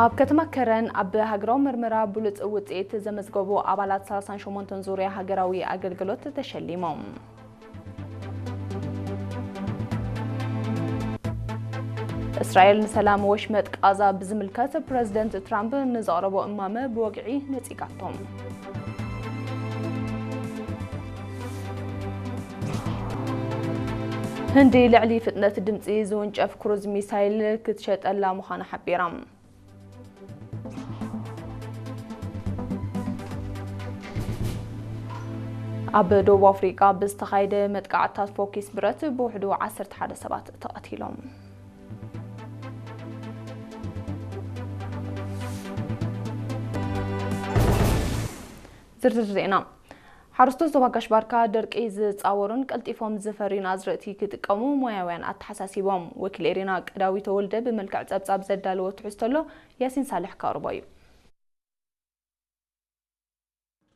ኣብ ከተማ ከረን ኣብ ሃገራዊ መርመራ ብሉጽ ውጽኢት ዘመዝገቡ ኣባላት ሰላሳን ሸሞንተን ዙርያ ሃገራዊ ኣገልግሎት ተሸሊሞም። እስራኤል ንሰላም ወሽመጥ ቃዛ ብዝምልከት ፕረዚደንት ትራምፕ ንዘቕረቦ እማመ ብወግዒ ነጺጋቶም። ህንዲ ልዕሊ ፍጥነት ድምጺ ዝውንጨፍ ክሩዝ ሚሳይል ክትሸጠላ ምዃና ሓቢራ። ኣብ ደቡብ ኣፍሪቃ ብዝተኻየደ መጥቃዕትታት ፎኪስ ብረት ብውሕዱ ዓሰርተ ሓደ ሰባት ተቐቲሎም። ዝርዝር ዜና። ሓረስቶት ዞባ ጋሽ ባርካ ደርቂ ዝጻወሩን ቀልጢፎም ዝፈርዩን ኣዝርእቲ ክጥቀሙ ሞያውያን ኣተሓሳሲቦም። ወኪል ኤሪና ቀዳዊ ተወልደ ብመልክዕ ጸብጻብ ዘዳለዎ ትሕዝቶ ኣሎ፣ ያሲን ሳልሕ ከቕርቦ እዩ።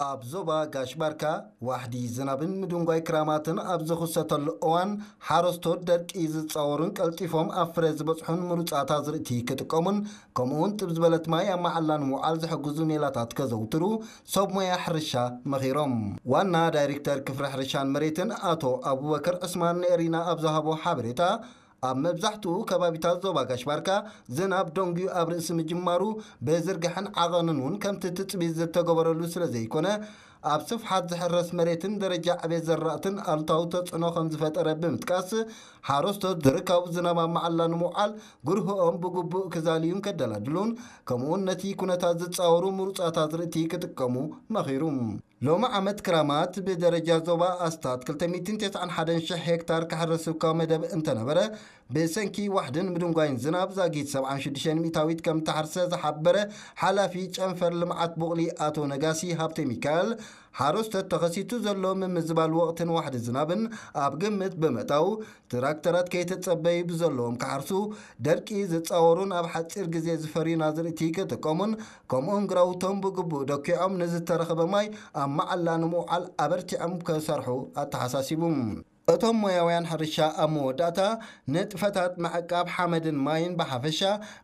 ኣብ ዞባ ጋሽ ባርካ ዋሕዲ ዝናብን ምድንጓይ ክራማትን ኣብ ዝኽሰተሉ እዋን፣ ሓረስቶት ደርቂ ዝጻወሩን ቀልጢፎም ኣብ ፍረ ዝበጽሑን ምሩጻት ኣዝርእቲ ክጥቀሙን፣ ከምኡውን ጥብ ዝበለት ማይ ኣብ መዓላ ንምውዓል ዝሕግዙ ሜላታት ከዘውትሩ ሰብ ሞያ ሕርሻ መኺሮም። ዋና ዳይሬክተር ክፍሊ ሕርሻን መሬትን ኣቶ ኣቡበከር ዕስማን ንኤሪና ኣብ ዝሃቦ ሓበሬታ፣ ኣብ መብዛሕትኡ ከባቢታት ዞባ ጋሽ ባርካ ዝናብ ደንጉዩ ኣብ ርእሲ ምጅማሩ፣ ብዝርግሐን ዓቐንን እውን ከምቲ ትጽቢት ዝተገበረሉ ስለ ዘይኮነ፣ ኣብ ስፍሓት ዝሕረስ መሬትን ደረጃ ዕቤት ዘራእትን ኣሉታዊ ተጽዕኖ ከም ዝፈጠረ ብምጥቃስ፣ ሓረስቶት ዝርካቡ ዝናብ ኣብ መዓላ ንምውዓል ግርህኦም ብግቡእ ክዛልዩን ከደላድሉን፣ ከምኡውን ነቲ ኩነታት ዝጻወሩ ምሩጻት ኣዝርእቲ ክጥቀሙ መኺሩ። ሎሚ ዓመት ክራማት ብደረጃ ዞባ ኣስታት ክልተ ሚእትን ተስዓን ሓደን ሽሕ ሄክታር ክሕረስ እኳ መደብ እንተነበረ፣ ብሰንኪ ዋሕድን ምድንጓይን ዝናብ ዛጊት ሰብዓን ሽዱሽተን ሚእታዊት ከም እተሓርሰ ዝሓበረ ሓላፊ ጨንፈር ልምዓት ቡቕሊ ኣቶ ነጋሲ ሃብተ ሚካኤል፣ ሓረስቶት ተኸሲቱ ዘሎ ምምዝባል ወቕትን ዋሕዲ ዝናብን ኣብ ግምት ብምእታው፣ ትራክተራት ከይተጸበዩ ብዘለዎም ክሓርሱ፣ ደርቂ ዝጻወሩን ኣብ ሓጺር ግዜ ዝፈርዩን ኣዝርእቲ ክጥቀሙን፣ ከምኡውን ግራውቶም ብግቡእ ደኪዖም ንዝተረኸበ ማይ ኣብ መዓላ ንምውዓል ኣበርቲዖም ክሰርሑ ኣተሓሳሲቡ። እቶም ሞያውያን ሕርሻ ኣብ መወዳእታ፣ ንጥፈታት ምዕቃብ ሓመድን ማይን ብሓፈሻ፣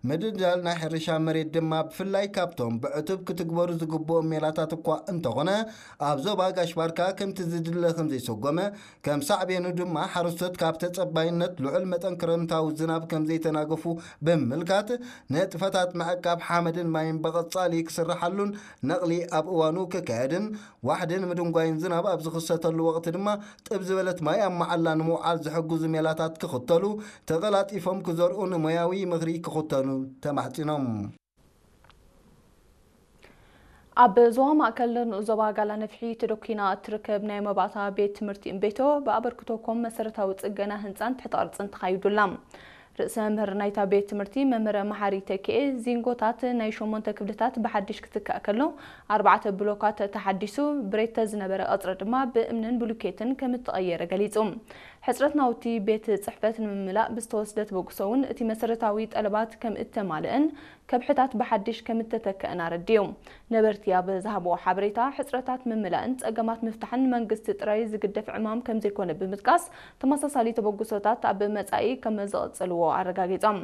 ምድልዳል ናይ ሕርሻ መሬት ድማ ብፍላይ ካብቶም ብዕቱብ ክትግበሩ ዝግብኦም ሜላታት እኳ እንተኾነ፣ ኣብ ዞባ ጋሽ ባርካ ከምቲ ዝድለ ከም ዘይሰጎመ፣ ከም ሳዕቤኑ ድማ ሓረስቶት ካብ ተጸባይነት ልዑል መጠን ክረምታዊ ዝናብ ከም ዘይተናገፉ ብምምልካት፣ ንጥፈታት ምዕቃብ ሓመድን ማይን ብቐጻሊ ክስርሓሉን ነቕሊ ኣብ እዋኑ ክካየድን፣ ዋሕድን ምድንጓይን ዝናብ ኣብ ዝኽሰተሉ ወቕቲ ድማ ጥብ ዝበለት ማይ ኣብ መዓላ ንምውዓል ዝሕግዙ ሜላታት ክኽተሉ፣ ተቐላጢፎም ክዘርኡ ንሞያዊ ምኽሪ ክኽተሉ ተማሕጺኖም። ኣብ ዞባ ማእከል ንኡስ ዞባ ጋላ ነፍሒ ተደኲና እትርከብ ናይ መባእታ ቤት ትምህርቲ እምቤቶ ብኣበርክቶ ኮም መሰረታዊ ጽገና ህንጻን ትሕተ ቅርጽን ተኻይዱላ። ርእሰ መምህር ናይታ ቤት ትምህርቲ መምህር መሓሪ ተኪኤ፣ ዚንጎታት ናይ ሸሞንተ ክፍልታት ብሓድሽ ክትካእ ከሎ፣ ኣርባዕተ ብሎካት ተሓዲሱ፣ ብሬተ ዝነበረ ቀጽሪ ድማ ብእምንን ብሉኬትን ከም እተቐየረ ገሊጹ። ሕጽረት ናውቲ ቤት ጽሕፈት ንምምላእ ብዝተወስደ ተበግሶ እውን እቲ መሰረታዊ ጠለባት ከም እተማልአን ከብሕታት ብሓድሽ ከም እተተክአን ኣረዲኡ። ነበርቲ ኣብ ዝሃብዎ ሓበሬታ፣ ሕጽረታት ምምላእን ጸገማት ምፍታሕን መንግስቲ ጥራይ ዝግደፍ ዕማም ከም ዘይኮነ ብምጥቃስ፣ ተመሳሳሊ ተበግሶታት ኣብ መጻኢ ከም ዝቕጽልዎ ኣረጋጊጾም።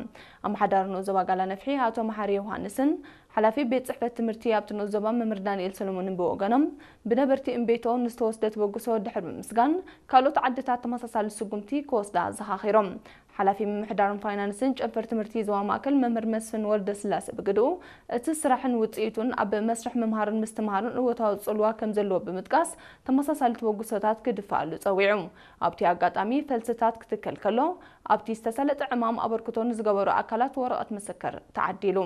ኣመሓዳሪ ንኡስ ዞባ ጋላ ነፍሒ ኣቶ መሓሪ ዮሃንስን ሓላፊ ቤት ጽሕፈት ትምህርቲ ኣብቲ ንኡስ ዞባ መምህር ዳንኤል ሰሎሞንን ብወገኖም፣ ብነበርቲ እምቤቶ ንዝተወስደ ተበግሶ ድሕሪ ምምስጋን፣ ካልኦት ዓድታት ተመሳሳሊ ስጉምቲ ክወስዳ ኣዘኻኺሮም። ሓላፊ ምምሕዳርን ፋይናንስን ጨንፈር ትምህርቲ ዞባ ማእከል መምህር መስፍን ወልደስላሴ ብግድኡ፣ እቲ ስራሕን ውጽኢቱን ኣብ መስርሕ ምምሃርን ምስትምሃርን እወታዊ ጽልዋ ከም ዘለዎ ብምጥቃስ፣ ተመሳሳሊ ተበግሶታት ክድፋኣሉ ጸዊዑ። ኣብቲ ኣጋጣሚ ፈልስታት ክትከል ከሎ፣ ኣብቲ ዝተሰለጠ ዕማም ኣበርክቶ ንዝገበሩ ኣካላት ወረቐት ምስክር ተዓዲሉ።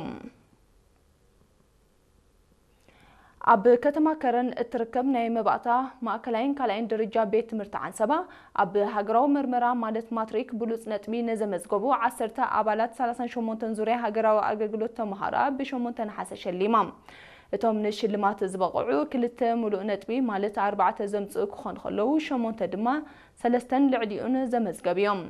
ኣብ ከተማ ከረን እትርከብ ናይ መባእታ ማእከላይን ካልኣይን ደረጃ ቤት ትምህርቲ ዓንሰባ፣ ኣብ ሃገራዊ መርመራ ማለት ማትሪክ ብሉጽ ነጥቢ ንዘመዝገቡ ዓሰርተ ኣባላት ሰላሳን ሸሞንተን ዙርያ ሃገራዊ ኣገልግሎት ተመሃሮኣ ብሸሞንተ ነሓሰ ሸሊማ። እቶም ንሽልማት ዝበቕዑ ክልተ ምሉእ ነጥቢ ማለት ኣርባዕተ ዘምጽኡ ክኾኑ ከለዉ፣ ሸሞንተ ድማ ሰለስተን ልዕሊኡን ዘመዝገቡ እዮም።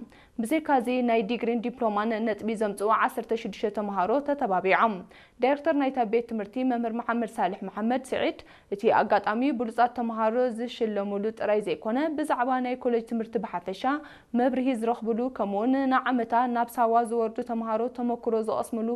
ብዘይካዚ ናይ ዲግሪን ዲፕሎማን ነጥቢ ዘምጽኡ ዓሰርተ ሽዱሽተ ተመሃሮ ተተባቢዖም። ዳይሬክተር ናይታ ቤት ትምህርቲ መምህር መሓመድ ሳልሕ መሓመድ ስዒድ፣ እቲ ኣጋጣሚ ብሉጻት ተመሃሮ ዝሽለሙሉ ጥራይ ዘይኮነ፣ ብዛዕባ ናይ ኮሌጅ ትምህርቲ ብሓፈሻ መብርሂ ዝረኽብሉ፣ ከምኡውን ንዓመታ ናብ ሳዋ ዝወርዱ ተመሃሮ ተመክሮ ዝቐስምሉ